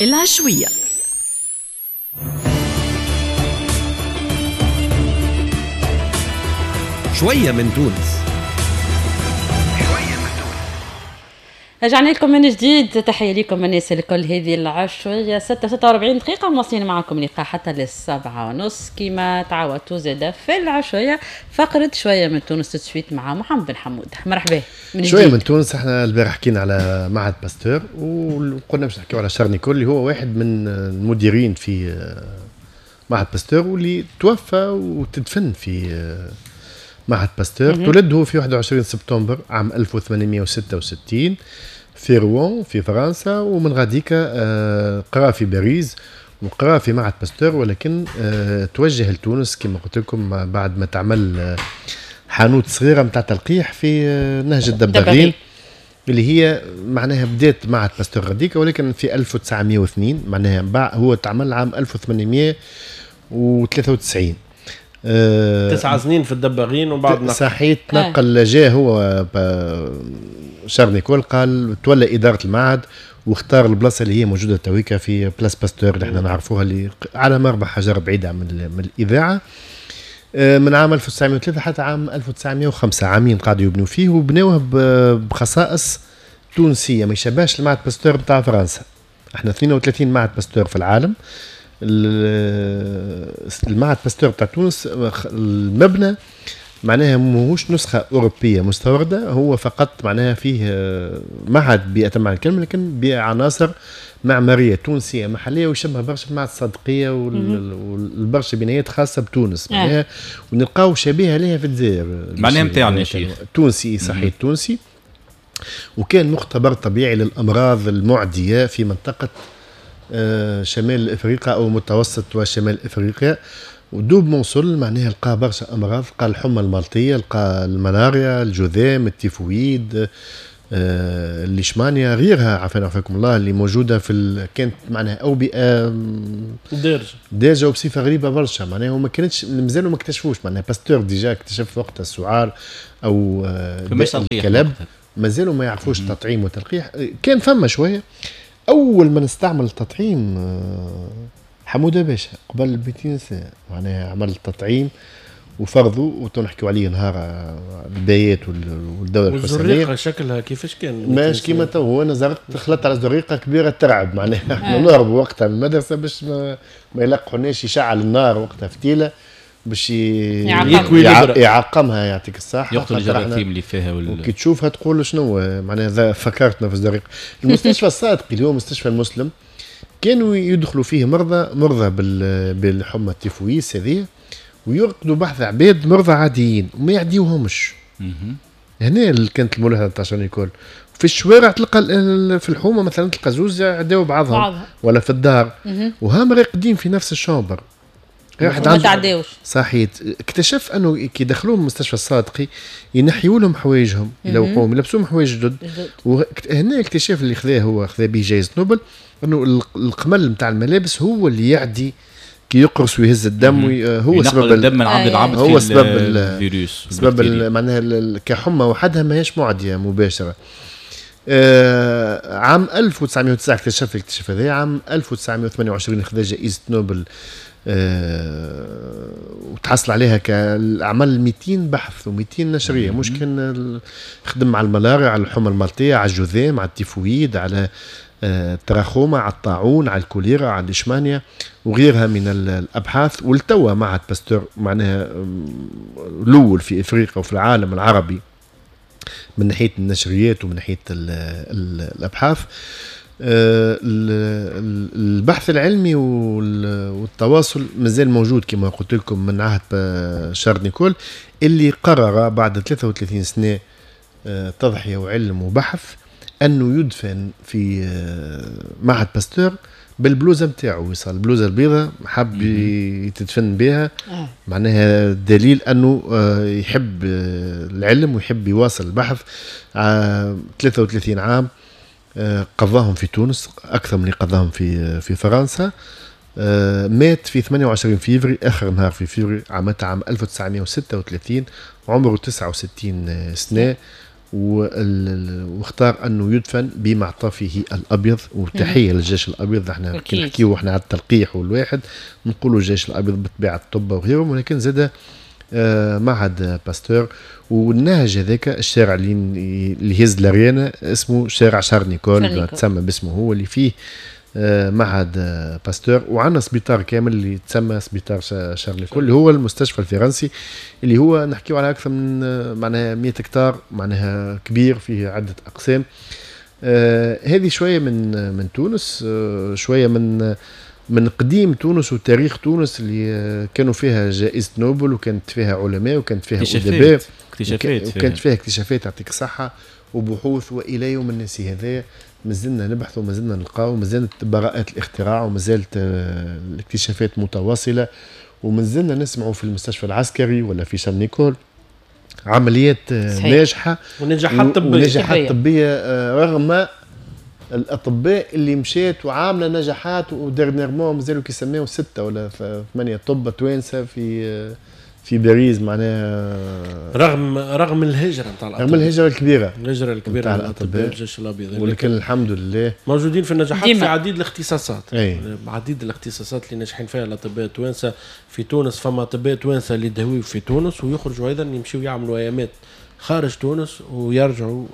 العشوية. شوية من تونس. رجعنا لكم من جديد، تحية لكم الناس الكل. هذه العشوية 6:46 دقيقة، مواصلين معكم لقاء حتى 7:30 كما تعودتوا زادة في العشوية فقرة شوية من تونس تسويت مع محمد بن حمود. مرحبا من جديد. شوية من تونس. احنا البارح حكينا على معهد باستور وقلنا باش نحكيو على شارل نيكول اللي هو واحد من المديرين في معهد باستور واللي توفى وتدفن في معهد باستور. تولد هو في 21 سبتمبر عام 1866 في روان في فرنسا، ومن غاديك قرأ في باريس وقرأ في معهد باستور، ولكن توجه لتونس كما قلت لكم بعد ما تعمل حانوت صغيرة متاع تلقيح في نهج الدباغين اللي هي معناها بدات معهد باستور غاديك، ولكن في 1902 معناها هو تعمل عام 1893. 9 سنين في الدباغين وبعد صحيح تنقل. جاء هو شارل نيكول قال تولى إدارة المعهد واختار البلاصة اللي هي موجودة تويكا في place باستور اللي احنا نعرفوها اللي على مربع حجر بعيدة من الإذاعة. من عام 1903 حتى عام 1905، عامين قعدوا يبنوا فيه، وبنوه بخصائص تونسية ما يشبهش المعهد باستور بتاع فرنسا. احنا 32 معهد باستور في العالم. المعهد باستور بتاع تونس المبنى معناها ماهوش نسخة أوروبية مستوردة، هو فقط معناها فيه معهد بأتم معنى الكلمة، لكن بعناصر معمارية تونسية محلية ويشبه برشا معهد الصادقية والبرشا بنايات خاصة بتونس معناها، ونلقاو شبيهة لها في الجزائر معناها نتاعنا شيخ تونسي صحيح تونسي. وكان مختبر طبيعي للأمراض المعدية في منطقة شمال افريقيا او متوسط وشمال افريقيا. ودوب موصل معناها لقى برشا امراض، لقى الحمى المالطيه، لقى الملاريا، الجذام، التيفويد، الليشمانيا، غيرها عافانا وعافاكم الله اللي موجودة في كانت معناها اوبئه دارجه وبصفه غريبة برشا معناها، وما كانتش مازالوا ما اكتشفوش معناها. باستور déjà اكتشف وقتها السعار او الكلب، مازالوا ما يعرفوش التطعيم والتلقيح، كان فما شوية. اول ما نستعمل التطعيم حموده باشا قبل 200 سنة معناها عمل التطعيم وفرضه، وتنحكيو عليه نهار البايات والدولة الحسينية. والزريقه شكلها كيفاش كان؟ ماش كيما تو، هو انا زرقت خلطت على زريقه كبيرة ترعب معناها احنا نهربوا وقتها من المدرسة باش ما يلقحوناش، يشعل النار وقتها فتيله باش يعقمها يعطيك الصحة، يقتل الجراثيم اللي فيها وكي تشوفها تقول شنو معناها. فكرتنا في الزريقه. المستشفى الصادقي اللي هو مستشفى المسلم كانوا يدخلوا فيه مرضى بالحمى التيفويس هذه، ويرقدوا بحث عباد مرضى عاديين وما يعديوهمش. هنا كانت الملاحظة تاع شارل نيكول. في الشوارع تلقى في الحومه مثلا تلقى زوز يعداو بعضهم ولا في الدار، وهم راقدين في نفس ال chambre. ما تعداوش. صحيح. اكتشف انه كي دخلوهم المستشفى الصادقي ينحيوا لهم حوايجهم، يلوقوهم، يلبسوهم حوايج جدد. وهنا الاكتشاف اللي خذاه هو خذا به جائزة نوبل، انه القمل نتاع الملابس هو اللي يعدي كي يقرص ويهز الدم، هو سبب الدم من عبد العبد، هو سبب الفيروس، سبب معناها كحمى وحدها ماهيش معدية مباشرة. عام 1909 اكتشف الاكتشاف هذا. عام 1928 خذا جائزة نوبل وتحصل عليها كعمل 200 بحث و200 نشريه، مش كان خدم على الملاريا، على الحمى المالطيه، على الجذام، على التيفويد، على التراخوما، على الطاعون، على الكوليرا، على الليشمانيا وغيرها من الابحاث. والتوا معهد باستور معناها الاول في افريقيا وفي العالم العربي من ناحية النشريات ومن ناحية الابحاث. البحث العلمي والتواصل مازال موجود كما قلت لكم من عهد شارل نيكول اللي قرر بعد 33 سنة تضحية وعلم وبحث أنه يدفن في معهد باستور بالبلوزة نتاعو، وصل البلوزة البيضاء حب يتدفن بها، معناها دليل أنه يحب العلم ويحب يواصل البحث. 33 عام قضاهم في تونس أكثر من اللي قضاهم في فرنسا. مات في 28 فيفري، آخر نهار في فيفري عام 1936، عمره 69 سنة. واختار انه يدفن بمعطفه الابيض. وتحية للجيش الابيض، احنا كي نحكيو احنا على التلقيح والواحد نقولوا الجيش الابيض بالطبيعة الطب وغيرهم، ولكن زاد معهد باستور والنهج هذاك الشارع اللي يهز الاريانا اسمه شارع شارل نيكول، تسمى باسمه هو اللي فيه معهد باستور. وعندنا سبيطار كامل اللي تسمى سبيطار شارل نيكول اللي هو المستشفى الفرنسي، اللي هو نحكيو على اكثر من معناها 100 هكتار، معناها كبير فيه عده اقسام. هذه شوية من تونس، شوية من قديم تونس وتاريخ تونس اللي كانوا فيها جائزة نوبل، وكانت فيها علماء، وكانت فيها أدباء، وكانت فيها اكتشافات يعطيك الصحة وبحوث، وإلى يوم الناس هذا مازلنا نبحث ومازلنا نلقاو، ومازالت براءات الاختراع ومازالت الاكتشافات متواصلة، ومازلنا نسمعوا في المستشفى العسكري ولا في شارل نيكول عمليات ناجحة ونجاحات طبية، ونجاحات طبية رغم الاطباء اللي مشات وعامله نجاحات. و dernièrement مازالوا كيسميو 6 ولا 8 طب توانسة في باريس، معناها رغم الهجرة نتاع الاطباء، رغم الهجرة الكبيرة، الهجرة الكبيرة نتاع الاطباء الجيش الابيض، ولكن الحمد لله موجودين في النجاحات في عديد الاختصاصات. عديد الاختصاصات اللي ناجحين فيها الاطباء التوانسة في تونس. فما اطباء توانسة اللي يداويو في تونس ويخرجوا ايضا يمشيو يعملوا ايامات خارج تونس ويرجعوا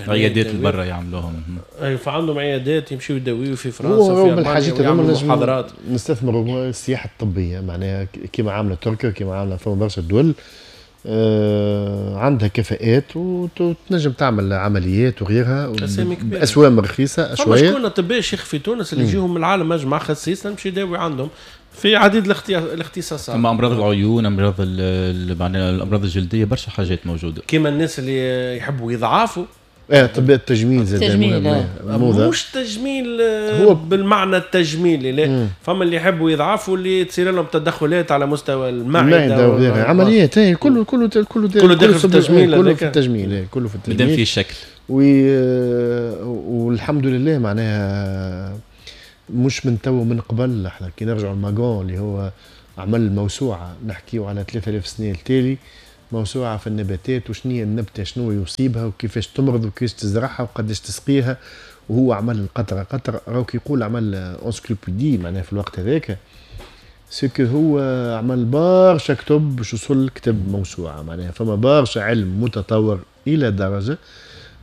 عيادات البرة يعملوهم. اي فعندهم عيادات يمشيو يداويو في فرنسا وفي المانيا ويعملوا محاضرات. نستثمروا السياحة الطبية، معناها كيما عامله تركيا وكيما عامله فما برشا دول عندها كفاءات وتنجم تعمل عمليات وغيرها باسوام رخيصة شوية. فما شكون اطباء شيخ في تونس اللي يجيهم من العالم اجمع خصيصا يمشي يداوي عندهم في عديد الاختصاصات. اما امراض العيون، امراض معناها الامراض الجلدية، برشا حاجات موجودة. كيما الناس اللي يحبوا يضعفوا، طب التجميل زاد التجميل مش تجميل هو بالمعنى التجميلي، لا فما اللي يحبوا يضعفوا اللي تصير لهم تدخلات على مستوى المعدة وغيرها، عمليات كله كله كله كله داخل في التجميل، كله في التجميل، كله في التجميل مادام فيه شكل. والحمد لله معناها مش من تو، من قبل. احنا كي نرجعوا لماغون اللي هو عمل موسوعة، نحكيو على 3000 سنة التالي، موسوعة في النباتات وشنية النبتة شنو يصيبها وكيفاش تمرض وكيفاش تزرعها وقداش تسقيها، وهو عمل قطرة قطرة. راهو كي يقول عمل encyclopédie معناها في الوقت هذاك، ce que هو عمل برشا كتب باش وصل كتب موسوعة، معناها فما برشا علم متطور الى درجه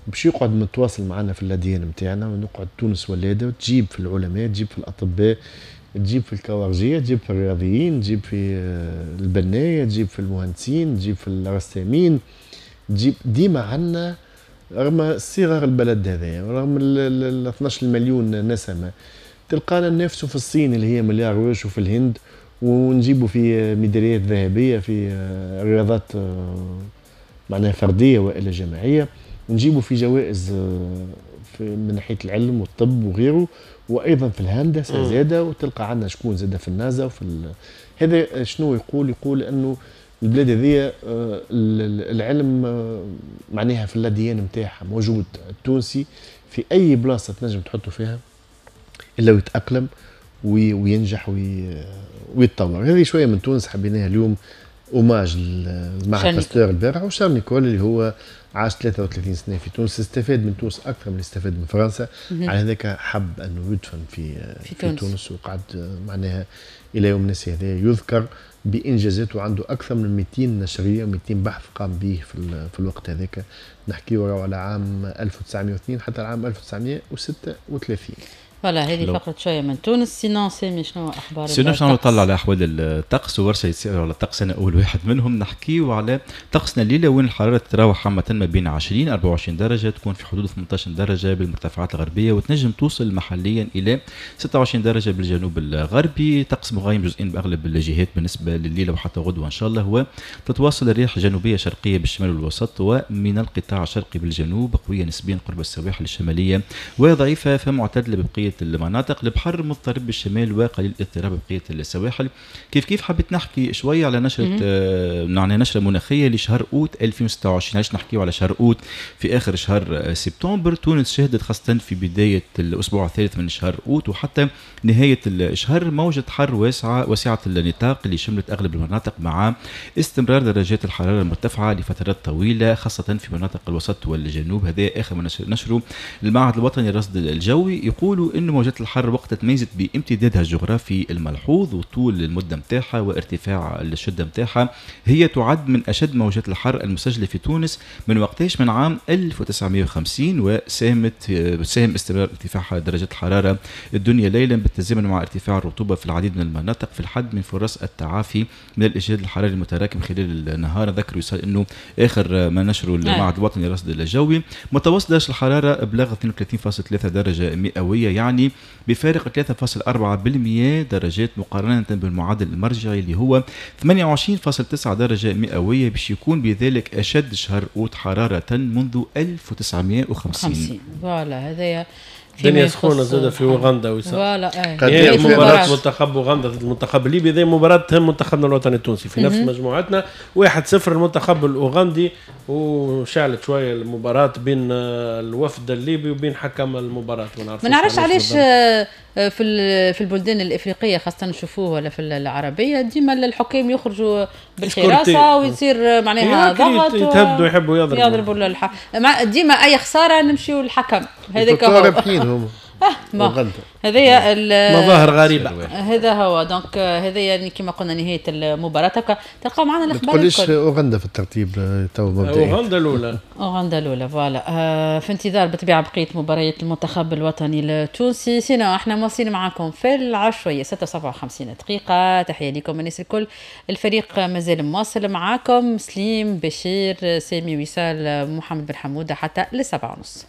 باش يقعد متواصل معنا في ال ADN نتاعنا، ونقعد تونس ولاده وتجيب في العلماء، تجيب في الاطباء، تجيب في الكوارجيه، تجيب في الرياضيين، تجيب في البناية، تجيب في المهندسين، تجيب في الرسامين، تجيب ديما عندنا رغم صغر البلد هذا، رغم ال 12 مليون نسمه، تلقانا ننافسوا في الصين اللي هي مليار وش، وفي الهند، ونجيبوا في ميداليات ذهبية في رياضات معناها فردية والا جماعية، ونجيبوا في جوائز في من ناحية العلم والطب وغيره، وايضا في الهندسة زاده، وتلقى عندنا شكون زاده في النازا وفي هذا شنو يقول؟ يقول انه البلاد هذه العلم معناها في ال ADN نتاعها موجود. التونسي في اي بلاصة تنجم تحطه فيها الا ويتاقلم وينجح ويتطور. هذه شوية من تونس حبيناها اليوم hommage لمعهد باستور البارح، وشارل نيكول اللي هو عاش 33 سنة في تونس، استفاد من تونس اكثر من اللي استفاد من فرنسا، على هذاك حب انه يدفن في تونس، وقعد معناها الى يوم الناس هذا يذكر بانجازاته. عنده اكثر من 200 نشريه، 200 بحث قام به في الوقت هذاك، نحكيو على عام 1902 حتى العام 1936. voilà هذه فقرة شوية من تونس. sinon سامي شنو اخبار؟ sinon شنو نطلع على احوال الطقس وورشه يسالوا على الطقس، انا اول واحد منهم. نحكيو على طقسنا الليلة وين الحرارة تتراوح عامة ما بين 20 24 درجه، تكون في حدود 18 درجه بالمرتفعات الغربية، وتنجم توصل محليا الى 26 درجه بالجنوب الغربي. طقس مغايم جزئيا باغلب الجهات بالنسبة لليلة وحتى غدوه ان شاء الله، وتتواصل الرياح جنوبيه شرقية بالشمال والوسط ومن القطاع الشرقي بالجنوب، قوية نسبيا قرب السواحل الشمالية وضعيفه فمعتدله ببقية بقية المناطق. البحر مضطرب بالشمال وقليل الاضطراب بقية السواحل. كيف كيف حبيت نحكي شوية على نشره يعني نشره مناخيه لشهر اوت 2026. علاش نحكيو على شهر اوت؟ في اخر شهر سبتمبر تونس شهدت خاصة في بداية الاسبوع الثالث من شهر اوت وحتى نهاية الشهر موجه حر واسعة واسعة النطاق اللي شملت اغلب المناطق، مع استمرار درجات الحرارة المرتفعة لفترات طويلة خاصة في مناطق الوسط والجنوب. هذا اخر ما نشره المعهد الوطني للرصد الجوي. يقولوا انه موجات الحر وقت تميزت بامتدادها الجغرافي الملحوظ وطول المدة نتاعها وارتفاع الشدة نتاعها، هي تعد من اشد موجات الحر المسجلة في تونس من وقتاش؟ من عام 1950، وساهم استمرار ارتفاع درجات الحرارة الدنيا ليلا بالتزامن مع ارتفاع الرطوبة في العديد من المناطق في الحد من فرص التعافي من الاجهاد الحراري المتراكم خلال النهار. ذكر وصال انه اخر ما نشره المعهد الوطني للرصد الجوي متوسط درجه الحرارة بلغ 32.3 درجه مئوية، يعني بفارق 3.4% درجات مقارنة بالمعدل المرجعي اللي هو 28.9 درجه مئوية، باش يكون بذلك اشد شهر اوت حرارة منذ 1950. voilà هذايا الدنيا سخونة زاده في اوغندا وسام. voilà هي مباراة منتخب اوغندا ضد المنتخب الليبي، هذه مباراة تهم منتخبنا الوطني التونسي في نفس مجموعتنا. 1-0 المنتخب الاوغندي، وشعلت شوية المباراة بين الوفد الليبي وبين حكم المباراة. ما نعرفش علاش في البلدان الافريقية خاصة نشوفوه ولا في العربية ديما الحكام يخرجوا بالحراسة ويصير معناها ضغط، يتهدوا يحبوا يضربوا ديما اي خسارة نمشيو للحكم هذاك هو. هذايا مظاهر غريبة، هذا هو. donc هذا يعني كما قلنا نهاية المباراة تلقاو معنا الاخبار. ما تقوليش اوغندا في الترتيب تو مبدئيا. اوغندا الاولى، اوغندا الاولى voilà. في انتظار بالطبيعة بقية مباريات المنتخب الوطني التونسي. sinon احنا مواصلين معاكم في العشويه 6:57 دقيقة. تحية لكم الناس الكل، الفريق مازال مواصل معاكم، سليم بشير سامي وصال محمد بن حموده حتى ل7:30.